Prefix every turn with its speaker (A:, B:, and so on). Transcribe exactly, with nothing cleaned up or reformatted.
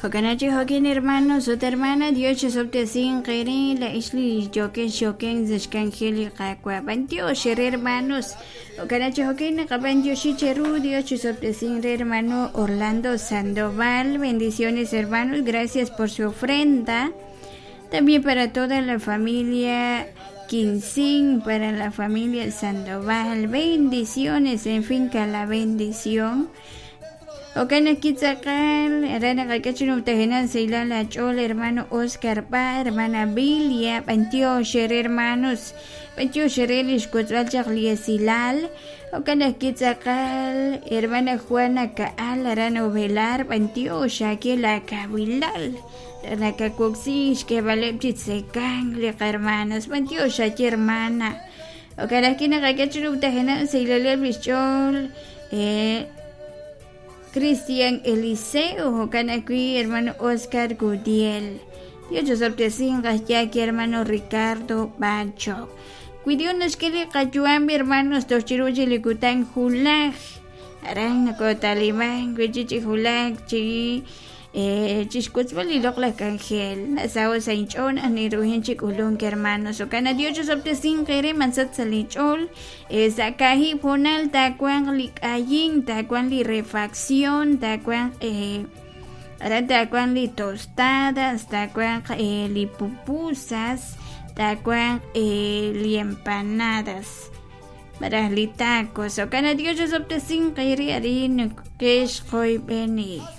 A: Jokanachi jokin hermanos ut hermana Dios chisobtesin qeri la ixli yoken xoken zexkanjeli qakwa bantiox hermanos. Jokanachi jokin qaban Dios Dios chisobtesin re hermano Orlando Sandoval. Bendiciones, hermanos, gracias por su ofrenda. También para toda la familia Quincín, para la familia Sandoval, bendiciones en finca La Bendición. Okana kitzakal, arana kakachino tajenan seilala chol, hermano Oscar Pa, hermana Bilia, Pantio Shere, hermanos, Pantio Shere lishkutzalchak liesilal, Okana kitzakal, hermana Juana Kaal, arana Ovelar, Pantio Shakela Kabilal, Nakakuxix, que valepchitzekan, hermanos, Pantio Shaki hermana, Okana kina kakachino tajenan seilala bichol, eh, Cristian Eliseo, Jocanacui, hermano Oscar Gudiel. Dios sorpresingas ya que hermano Ricardo Bacho. Cuidionos que le cayuan, hermanos, tochiruchi licutan julaj. Aran cotalimán, cuichichi julaj, chi. Chiscutzbal y lokla cangel. Nasao sainchon, aniruhin chikulun, hermanos. Ocana Dios sorpresin quere mansat salichol. Sakahi ponal tacuan li kayin, tacuan li refacción, tacuan eh. Tacuan li tostadas, tacuan eh, li pupusas, tacuan eh, li empanadas. Para li tacos. Ocana Dios sorpresin quere arin kesh beni.